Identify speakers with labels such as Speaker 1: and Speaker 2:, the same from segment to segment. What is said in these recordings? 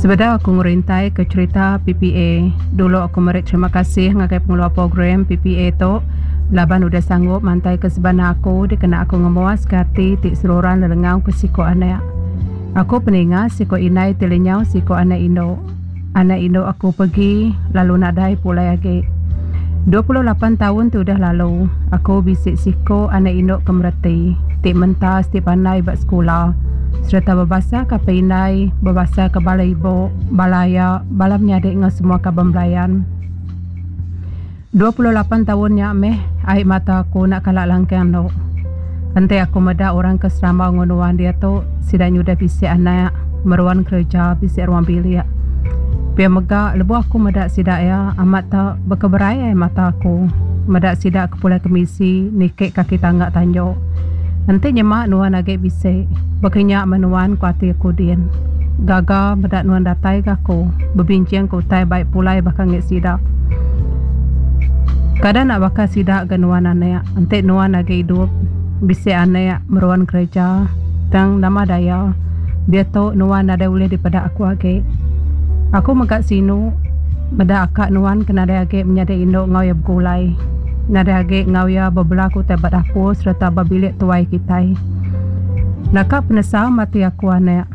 Speaker 1: Sebedau aku ngerintai ke cherita PPA, dulu aku meri terima kasih ngagai pengeluar program PPA tu laban udah sanggup mantai ke sebana aku dikena aku ngemuaska ati ti seruran lelengau ke siku anak. Aku peninga siku indai ti lenyau siku anak indu. Anak indu aku pegi lalu nadai pulai agi. 28 taun ti udah lalu, aku bisi siku anak indu ke mereti, ti mentas ti pandai ba sekula sereta bebasaka apai indai, bebasaka bala ibu, bala aya, bala menyadi enggau semua kaban belayan. 28 taun nya meh ai mata aku enda kala langkang endo. Enti aku meda orang ke serambau enggau nuan diatu, sida nyudah bisi anak, meruan kereja, bisi ruang bilik. Pia mega lebuh aku meda sida iya amat te bekeberai ai mata aku meda sida ke pulai kemisi niki kaki tangga tanju. Enti nyema nuan agi bisi, baka nya meh nuan ku ati aku din. Gaga meda nuan datai ga aku, bebinching ke utai bai pulai baka ngi sida. Kada enda baka sida ga nuan anak, enti nuan agi idup, bisi anak, meruan kereja, tang nama daya, diatu nuan nadai ulih dipeda aku agi. Aku mega sinu meda aka nuan ke nadai agi menyadi indu enggau iya begulai. Nadai agi enggau iya bebela ke utai ba dapur sereta ba bilik tuai kitai. Naka penesal mati aku anak,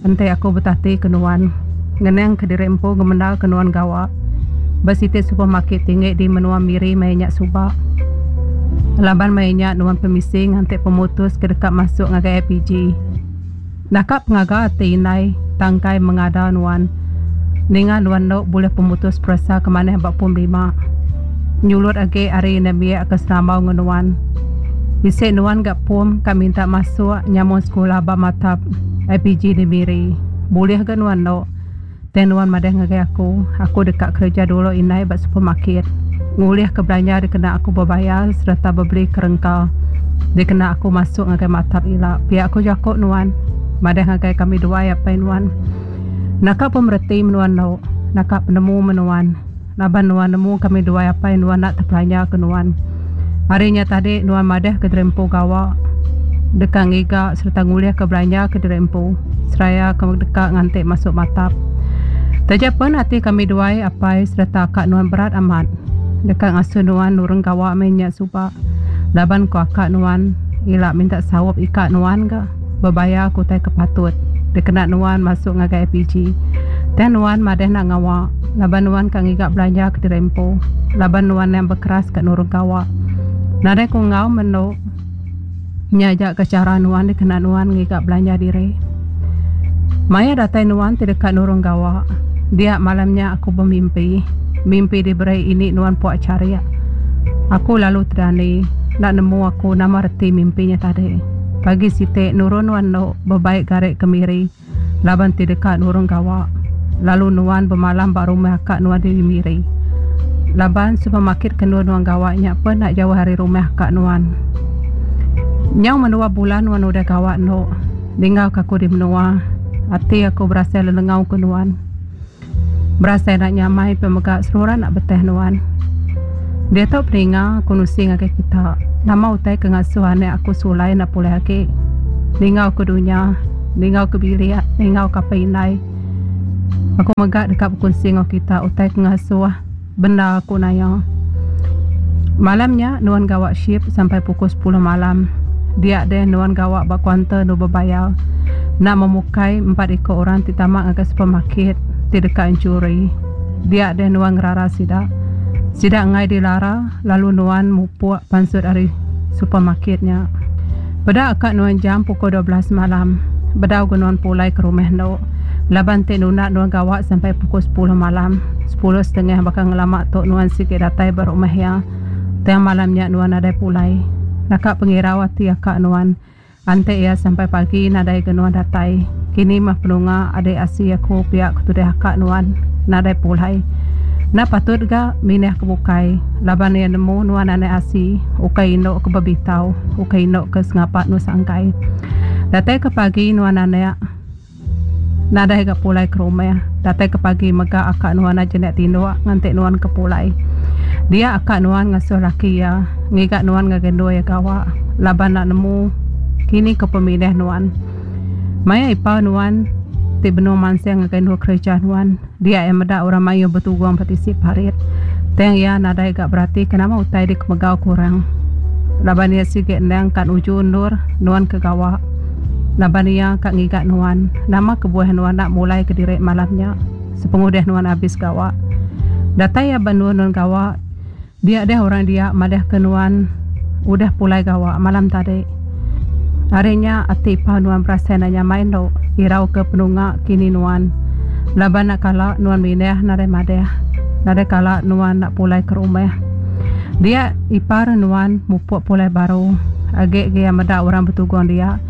Speaker 1: enti aku betati ke nuan, ngenang ke diri empu ngemendar ke nuan gawa ba siti supermarket tinggi di menua Miri maya nya suba. Laban maya nya nuan pemisi nganti pemutus ke deka masuk ngagai IPG. Naka pengaga ati indai tangkai mengada nuan ninga nuan endo bulih pemutus peresa ke manah ba pum lima. Nyulut agi ari nembiak ke serambau enggau nuan. Bisi nuan ga pum ka minta masuk nyambung sekula ba Matap IPG di Miri. Bulih ga nuan endo. Tang nuan madah ngagai aku, aku deka kereja dulu indai ba supermarket. Ngulihka belanja dikena aku bebayar sereta bebeli kerengka dikena aku masuk ngagai maktab ila, pia ku jaku nuan madah ngagai kami duai apai nuan. Naka pemereti menuan endo, naka penemu menuan laban nuan nemu kami duai apai nuan enda tepelanja ke nuan. Ari nya tadi nuan madah ke diri empu gawa deka ngiga sereta ngulihka belanja ke diri empu seraya ke deka nganti masuk matap. Taja pen ati kami duai apai sereta aka nuan berat amat deka ngasuh nuan nurun gawa meh nya suba laban ku aka nuan ila minta saup ika nuan ga bebayar ke utai ke patut dikena nuan masuk ngagai IPG. Tang nuan madah enda ngawa laban nuan ka ngiga belanja ke diri empu laban nuan endang bekeras ka nurun gawa. Nadai ku enggau menu nya aja ka chara nuan dikena nuan ngiga belanja diri. Maya datai nuan ti deka nurun gawa dia malam nya aku bemimpi. Mimpi diberi ini nuan puak charik. Aku lalu tedani enda nemu aku nama reti mimpi nya tadi. Pagi siti nurun nuan endo bebai gari ke Miri laban ti deka nurun gawa lalu nuan bemalam ba rumah aka nuan di Miri. Laban supermarket ke endur nuan gawa nya pun enda jauh ari rumah aka nuan. Nyau menua bulan nuan udah gawa endo ninggal ka aku di menua ati aku berasai lelengau ke nuan. Berasai enda nyamai pia mega seruran enda beteh nuan. Diatu peninga aku nusi ngagai kita nama utai ke ngasuh anak aku sulai enda pulih agi. Ningau ke dunya, ningau ke bilik, ningau ke apai indai. Aku mega deka bekunsi enggau kita utai ke ngasuh bendar aku naya. Malam nya nuan gawa shift sampai pukul sepuluh malam. Dia deh nuan gawa ba kaunter endur bebayar. Enda memukai empat iku orang ti tama ngagai supermarket ti deka enchuri. Dia deh nuan ngerara sida. Sida enggai dilara lalu nuan mupuk pansut ari supermarket nya. Peda ka nuan jam pukul 12 malam bedau ga nuan pulai ke rumah endo laban ti nunda nuan gawa sampai pukul sepuluh malam. Sepuluh setengah baka ngelama tu nuan sigi datai ba rumah iya. Tang malam nya nuan nadai pulai. Naka pengirau ati aka nuan. Enti iya sampai pagi nadai ga nuan datai. Kini meh penunga adik asi aku pia ke tudih aka nuan nadai pulai. Enda patut ga minah ke bukai laban iya nemu nuan anak asi ukai indu ke bebitau ukai indu ke sengapa nuan sangkai. Datai ke pagi nuan anak. Nadai ga pulai ke rumah. Datai ke pagi mega aka nuan aja enda tinduk nganti nuan ke pulai. Dia aka nuan ngasuh laki iya ngiga nuan ngagai endur iya gawa laban enda nemu kini ke pemilih nuan. Maya ipar nuan. ti benung mansing ngagai endur kereja nuan. Dia iya meda orang mayuh betugung ba tisi parit. Tang iya nadai ga beratika nama utai dikemegau ke orang. Laban iya sigi endang ka nuju endur nuan ke gawa. Laban iya ka ngiga nuan, nama kebuah nuan enda mulai kediri malam nya sepengudah nuan abis gawa. Datai iya ba endur nuan gawa, Dia deh orang dia madahka nuan udah pulai gawa malam tadi. Ari nya ati ipau nuan berasai enda nyamai endo irauka penunga kini nuan laban enda kala nuan mindah nadai madah nadai kala nuan enda pulai ke rumah. Dia ipar nuan mupuk pulai baru agi ga iya meda orang betugung dia.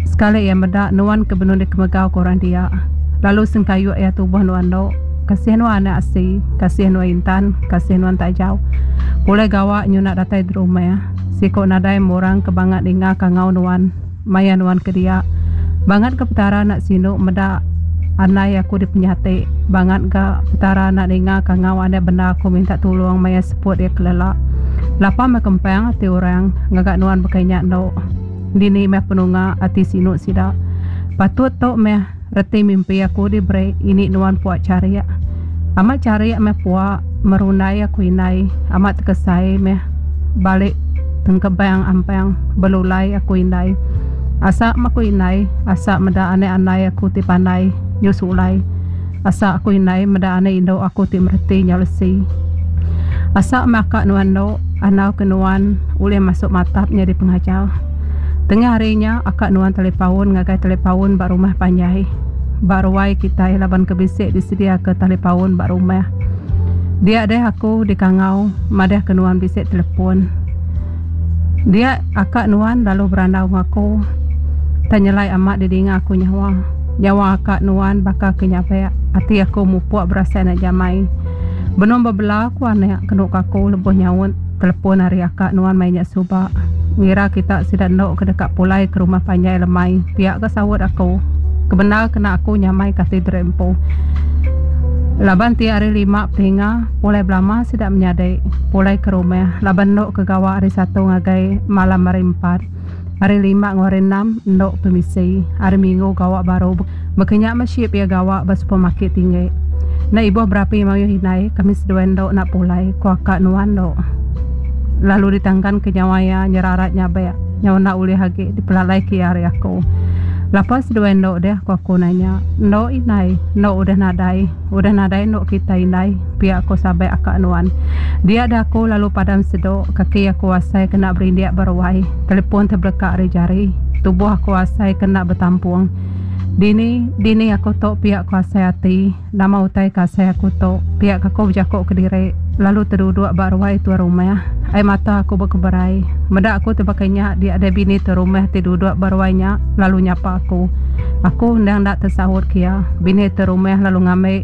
Speaker 1: Sekali iya meda nuan ke benung dikemegau ke orang dia lalu sengkayu iya tubuh nuan endo. Kasih nuan anak asi, kasih nuan intan, kasih nuan tajau. Pulai gawa nyuna datai derumah. Siku nadai murang ke bangat ninga kangau nuan maya nuan ke dia. Bangat ga Petara enda sinu meda andai aku dipenyati. Bangat ga Petara enda ninga kangau andai bendar aku minta tulung maya seput iya kelela. Lapa meh kempang ati orang ngaga nuan baka nya endo. Dini meh penunga ati sinu sida. Patut tu meh. Reti mimpi aku diberi ini nuan pua charik. Amat charik meh pua merundai aku indai. Amat tekesai meh balik tengkebang ampang belulai aku indai. Asa meh aku indai, asa meda anak andai aku ti pandai nyu sulai. Asa aku indai meda anak indu aku ti mereti nyau lesi. Asa meh aka nuan endo andau ke nuan ulih masuk matap nyadi pengajar. Tengah hari nya aka nuan talipaun ngagai talipaun ba rumah panjai. Ba ruai kitai laban ke bisi disediaka talipaun ba rumah. Dia deh aku dikangau madah ke nuan bisi telepon. Dia aka nuan lalu berandau enggau aku. Tang nyelai amat didinga aku nyawa. Nyawa aka nuan baka ke nyabak. Ati aku mupuk berasai enda jamai. Benung bebela ku anak kenu ke aku lebuh nyaut telepon ari aka nuan maya nya suba. Ngira kita sida endo ke deka pulai ke rumah panjai lemai pia ga saut aku. Kebendar kena aku nyamai ke ati diri empu. Laban ti hari lima peninga pulai belama sida menyadi pulai ke rumah laban endo ke gawa hari satu ngagai malam hari empat. Hari lima enggau hari enam endo pemisi. Hari minggu gawa baru. Baka nya meh ship iya gawa ba supermarket tinggi. Enda ibuh berapi mayuh indai kami seduai endo enda pulai, ku aka nuan endo. Lalu ditangkan ke nyawa iya nyerarat nyabek nyau enda ulih agi dipelalai ke iya ari aku. Lapa seduai endo deh ku aku nanya. Endo indai, endo udah nadai. Udah nadai endo kitai indai, pia ko sabek aka nuan. Dia deh aku lalu padam sedo, kaki aku asai kena berindik ba ruai, telepon tebeleka ari jari, tubuh aku asai kena betampung. Dini, dini aku tu pia ko asai ati, nama utai ke asai aku tu, pia ka aku bejako kediri, lalu teduduk ba ruai tuan rumah. Ai mata aku bekeberai. Meda aku ti baka nya dia deh bini tuan rumah ti duduk ba ruai nya lalu nyapa aku. Aku endang enda tesaut ke iya. Bini tuan rumah lalu ngambi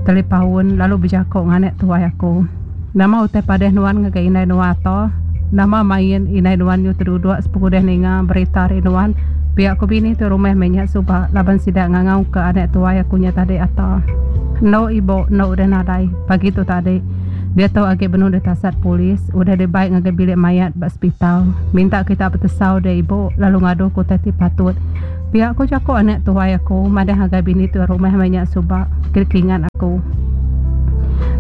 Speaker 1: talipaun lalu bejako nganek tuai aku. Nama utai padeh nuan ngagai indai nuan ato? Nama main indai nuan nyu teduduk sepengudah ninga berita ari nuan? Pia ku bini tuan rumah meh nya suba laban sida ngangau ke anak tuai aku nya tadi ato. Endo ibo endo udah nadai pagi tu tadi. Diatu agi benung ditasat polis udah dibai ngagai bilik mayat ba sepital. Minta kita betesau deh ibu lalu ngadu ke utai ti patut. Pia ku jaku anak tuai aku madah ngagai bini tuai rumah meh nya suba ke kingat aku.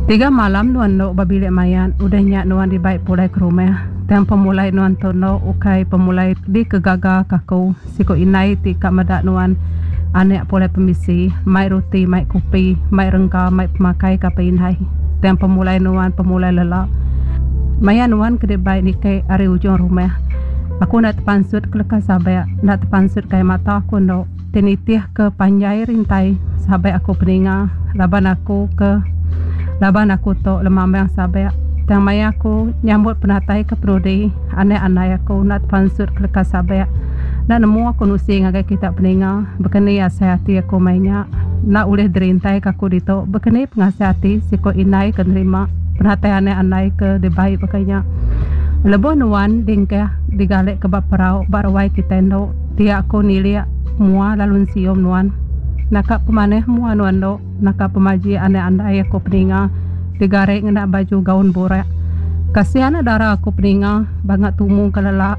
Speaker 1: Tiga malam nuan endo ba bilik mayat udah nya nuan dibai pulai ke rumah. Tang pemulai nuan tu endo ukai pemulai dikegaga ke aku siku indai ti ka meda nuan anak pulai pemisi mai ruti mai kupi mai rengka mai pemakai ka apai indai. Tang pemulai nuan pemulai lela. Maya nuan ke dibai niki ari ujung rumah aku enda tepansut ke leka sabak enda tepansut ke ai mata aku endo ti nitih ke panjai rintai sabak aku peninga laban aku ke laban aku tu lemambang sabak tang maya aku nyambut penatai ke penudi anak andai aku enda tepansut ke leka sabak enda nemu aku nusi ngagai kita peninga baka ni asai ati aku maya nya enda ulih dirintai ka aku ditu baka ni pengasai ati siku indai ke nerima penatai anak andai ke dibai baka nya lebuh nuan dingkah digalek ke ba perau ba ruai kitai endo Dia aku nilik mua lalu ensium nuan. Naka pemanah mua nuan endo, naka pemajik anak andai aku peninga digari ngena baju gaun burak. Kasih anak dara aku peninga bangat tumu ke lelak.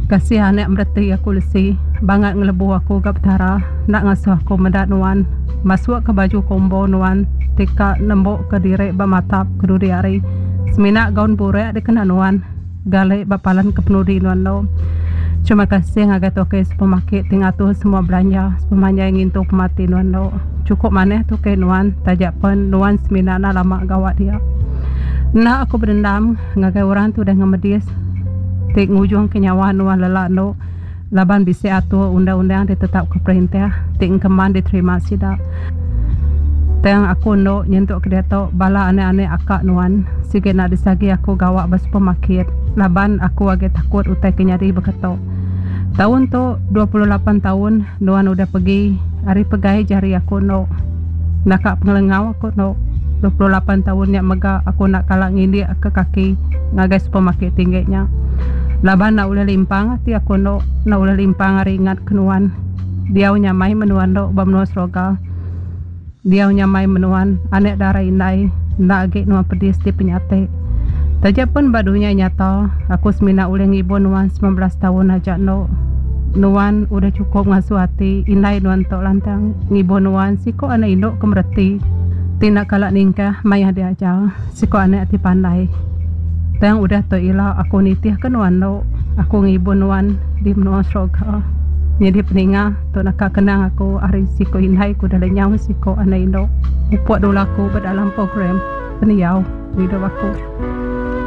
Speaker 1: Kasih anak mereti aku lesi bangat ngelebu aku ga Petara enda ngasuh aku meda nuan masuk ka baju kombo nuan ti ka nembu ka diri ba matap ke dudi hari semina gaun burak dikena nuan gali ba palan ke penudi nuan endo. Terima kasih ngagai tokey supermarket ti ngatur semua belanja sepemanjai ngintu pemati nuan endo. Chukup manah tokey nuan taja pen nuan semina enda lama gawa dia. Enda aku bedendam ngagai orang ti udah ngemedis ti ngujungka nyawa nuan lela endo laban bisi atur undang-undang ditetapka perintah ti engkeman diterima sida. Tang aku endo nyentuk ke diatu bala anak-anak aka nuan sigi enda disagi aku gawa ba supermarket laban aku agi takut utai ke nyadi baka tu. Taun tu 28 taun nuan udah pegi ari pegai jari aku endo. Naka pengelengau aku endo. 28 taun nya mega aku enda kala ngindik ke kaki ngagai supermarket tinggi nya laban enda ulih limpang ati aku endo enda ulih limpang ari ingat ke nuan. Diau nyamai menua endo ba menua seroga. Diau nyamai menuan anak dara indai enda agi nuan pedis ti penyati. Taja pen ba dunya nyata aku semina ulih ngibun nuan 19 taun aja endo. Nuan udah chukup ngasuh ati indai nuan tu lantang ngibun nuan siko anak indu ke mereti ti enda kala ningkah mayah diajar siko anak ti pandai. Tang udah tu ila aku nitihka nuan endo aku ngibun nuan di menua seroga. Nyadi peninga. Tu naka kenang aku ari siku indai ku udah lenyau siku anak indu mupuk dulu aku ba dalam program pendiau pengidup aku.